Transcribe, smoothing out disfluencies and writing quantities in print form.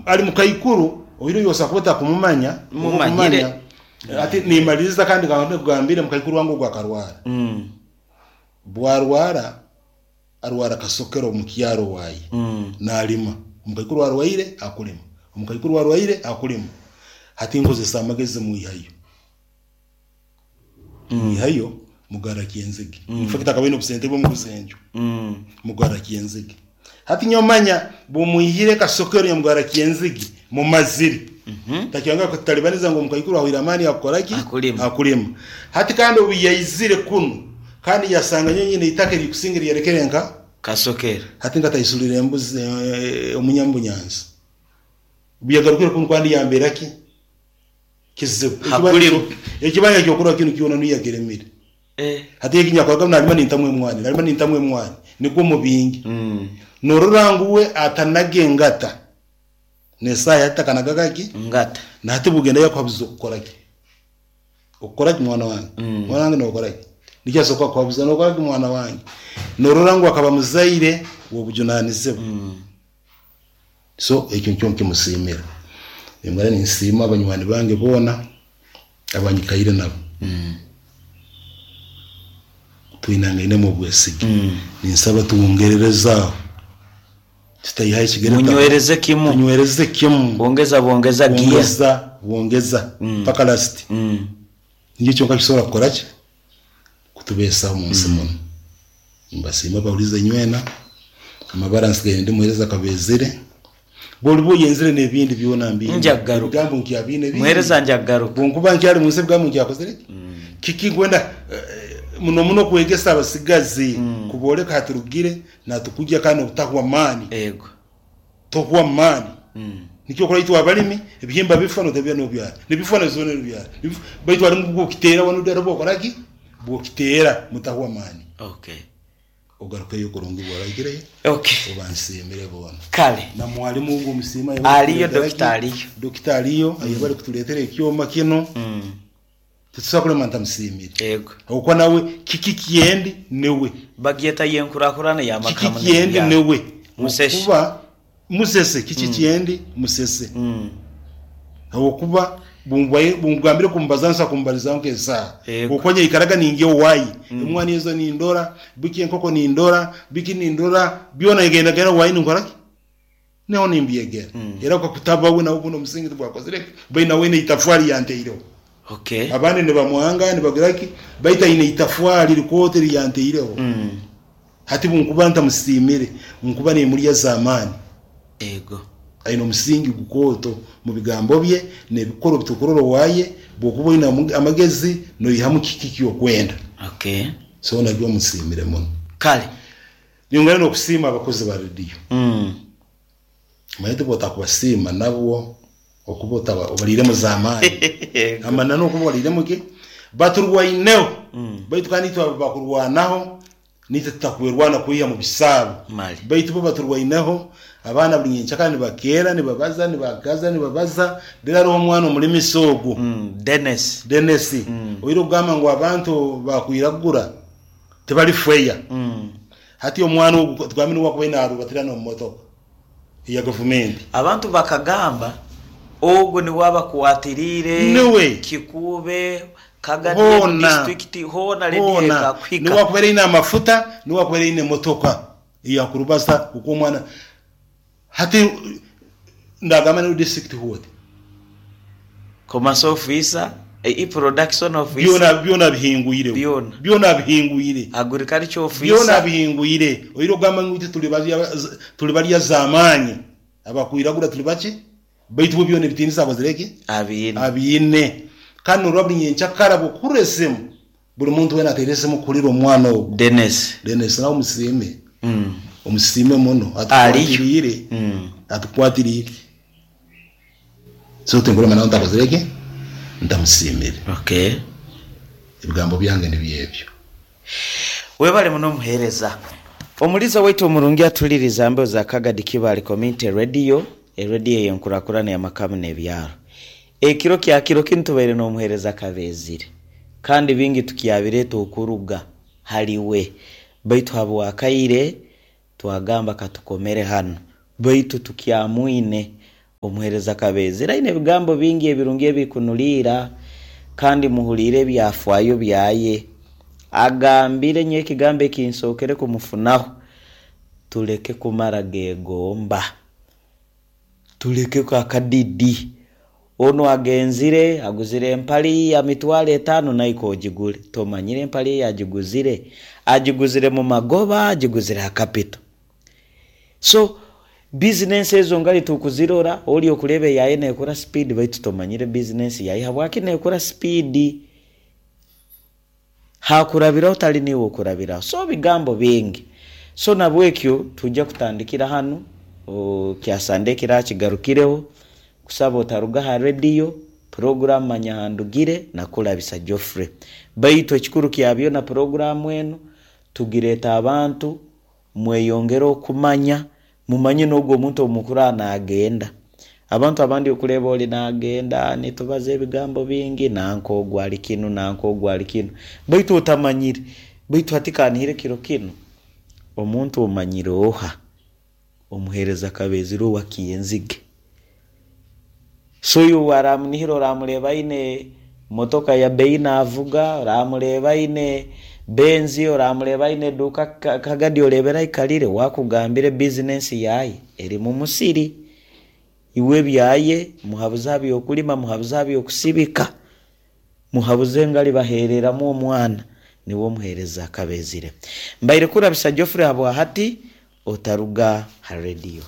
Ali mukaikuru oihireho iwe osobola kuba otakumumanya, Mumanyire. okumanya hati nimaliriza kandi nkaba nkugambire mukaikuru wange ogu akarwara. Bwarwara arwara kasokero omu kyaro owaaye nalima. Omukaikuru arwaire akulima, omukaikuru arwaire akulima. Hati nkozesa amagezi mwihayo. Mwihayo mugarra Kyenzige. In fact akaba aine obusente bwe omuguza enju. Mugarra Kyenzige. Hati nyowe manya bumwihire Kasokero nyamugarra Kyenzige mumazire. Takyongera kututalibaniza ngu omukaikuru ahwaire amaani akukora ki? Akulima. Akulima. Hati kandi obu yaizire kunu kandi yasanga nyowe nyine eitaka erikusinga eri yarekere nka Kasokero. Hati nkataisurira embuzi omunya mubunyansi. Obu yagarukire kunu kandi yambeera ki? Kizibu. Hakulima. Ekibanja kyokurora kinu kyona niyo yakiremire. Hati eki nyakoraga nalima nintamu emwani, nalima nintamu emwani, nigwo mubingi. Norora ngu we atanaga engata, n'esaaha hati takanagaga ki? Ngata. Na hati bugenda yakuhabuza okukora ki? Okukora ki mwana wange? Mwana wange nokora ki? Nikyo asobola kukuhabuza nokora ki mwana wange? Norora ngu akaba muzaire w'obujunanizibwa. So ekyo nikyo nkimusiimira. Nimbwena ninsiima banywani bange boona abanyikaire nabo. Twinangainemu obwesige. Ninsaba twongerereze aho. Tutaihaho ekigere Munywereze kimu. Tunywereze kimu. Bongeza bongeza gear. Bongeza bongeza mpaka last. Nikyo kyonka kisobora kukora ki? Kutubeesaho omu nsi munu. Nimbasiima abahuriize inywena. Amabara nsigaire ndi muheereza Kabeezire. Bw'oriba oyenzire n'ebindi byona mbiine. Nja kugaruka. Ebigambo nkyabiine bingi. Muheereza nja kugaruka. Bwonkuba nkyari mu nsi ebigambo nkyakozire ki? Kiki nkwenda muno muno kwegesa abasigazi kubooreka haturugire natukugya kandi n'obutahwa maani. Ego. Tohwa maani. Nikyo okora itwe abalimi ebihimba bifa notabya nobyara. Nibifa nozona nobyara. Baitu harimu bwokiteera wanu bwokora ki? Bwokiteera mutahwa maani. Okay. Ogarukeyo kurungi bw'oraikireyo Okay. obansiimire boona. Kale. Na mwalimu ogu omusiima ayebare Aliyo kutuleetera dokita ki? aliyo. Dokita aliyo ayebare kutuleetera ekyoma kinu. Titusobola kulema ntamusiimire. Ego. Habwokuba nawe kiki kyendi niwe. Bagyeta y'enkurakurana y'amaka Kiki hamu kyendi n'ebyaro. niwe. Musese. Habwokuba Musese kiki kyendi musese. Habwokuba bungambire kumbaza nsobola kumbalizaho nk'esaaha. Ego. Habwokuba nyaikaraga ningya owaye, emwani ezo nindora, biki enkoko nindora, biki nindora, byona ngendagenda owaye ninkora ki? Niho nimbyegera. Era kakutaba we nawe gundi omusingi tigwakozire ki? Baitu nawe aine itafwari yanteireho. Okay. Abandi nibamwanga nibagira ki, baitu aine itafwari rikooto eri yanteireho. Hati bunkuba ntamusiimire, nkuba nimurya z'amaani. Ego. Aine omusingi gukooto mu bigambo bye n'ebikorwa ebi turukurora owaye. Bwokuba oine amagezi noihamu kiki ekyokwenda. Okay. So nabyo musiimire muno. Kale. Nyongera n'okusiima abakozi ba rediyo. Omanyire tibwo otakubasiima nabwo okuba otaba obariiremu z'amaani. Amananu okuba obariiremu ki? Baturwaineho baitu kandi itwe abakurwanaho naitwe tutakwerwana kwiha mu bisaabo. Mali. Baitu bo baturwaineho, abaana buri nyenkyakara nibakeera nibabaza nibagaza nibabaza, reero hariho omwana omurimisa ogwo. Dennis. Dennis, oine okugamba ngu abantu bakwiragura tibari fair. Hati omwana ogu tugambe niwe akubaire narubatira n'omu motoka eya gavumenti. Abantu bakagamba, Ogwo niwe abakwatiriire Niwe. Kikuube, Kagadi enu Hoona. disiturikiti hoona rediyo Hoona. ekakuhika. Niwe akubaire aine amafuta, niwe akubaire aine emotoka eyakurubasa oku omwana Hati ndagamba niwe district what? Commerce officer, e production officer. Byona byona abihingwireho. Byona. Byona abihingwire. Agriculture officer. Byona abihingwire. Oire okugamba ngu itwe turi barya turi barya zamaani abakwiragura turi baki? Baitu bo byona ebitiinisa akozire ki? Abiine. Abiine. Kandi norora buri nyenkyakara bwokuhurira esimu Buri muntu weena ateire esimu kuhurira omwana ogu. Denis. Denis nawe omusiime. Omusiime muno. Ariyo. Atukwatiriire. Atukwatiriire. So tinkurema nawe ntakozire ki? Ntamusiimire. Okay. Ebigambo byange nibyo ebyo. Webale muno omuhereza. Omuliza waitu omurungi atuliriza mbeho za Kagadi Kibaale Community Radio, erediyo ey'enkurakurana y'amaka n'ebyaro. Ekiro kya kiro kinu tubaire n'omuheereza Kabeezire, kandi bingi tukyabireeta okuruga hali we. Baitu habw'akaire twagamba katukomere hanu, baitu tukyamwine. Omuheereza Kabeezire aine ebigambo bingi ebirungi ebirikunuriira kandi muhuriire ebyafaayo byaye. Agambire nyowe ekigambo ekinsookere kumufunaho, Tuleke kumara gegomba. Tuleke akadidi. Onu agenzire aguzire empali ya mitwaro etaano naika ogigure. Tomanyire empali ei agiguzire? Agiguzire mu magoba, agiguzire ha kapito? So bizinensi ezo ngari tukuzirora, ori okureeba eyaye nekura sipiidi baitu tomanyire bizinensi yaye habwaki nekura sipiidi. Hakurabiraho tari niiwe okurabiraho. So bigambo bingi. So nabwekyo twija kutandikira hanu, kya Sande ekirakigarukireho, kusaba otaruga aha rediyo, puroguramu Manya Ahandugire na Kurabisa Geoffrey. Baitu ekikuru kya byona puroguramu enu tugireeta abantu Mweyongere okumanya, mumanye n'ogwo omuntu ou mukuraba naagenda. Abantu abandi okureeba ori naagenda, nitubaza ebigambo bingi, nanka ogu ari kinu, nanka ogu ari kinu, baitu otamanyire. Baitu hati ka nihire kiro kinu, omuntu omanyire oha? Omuheereza Kabeezire owa Kienzige. So oyo oramunihira oramureeba aine motoka ya beyi navuga, oramureeba aine benzi, oramureeba aine eduuka kagadi oreebere aikarire, wakugambira ebizinensi yaaye eri mu musiri. Iwe ebyaye muhabuze aha by'okurima, muhabuze aha by'okusibika, muhabuze ngu aribaheereramu omwana niwe omuheereza Kabeezire. Mbaire kurabisa Geoffrey habwahati otaruga ha rediyo.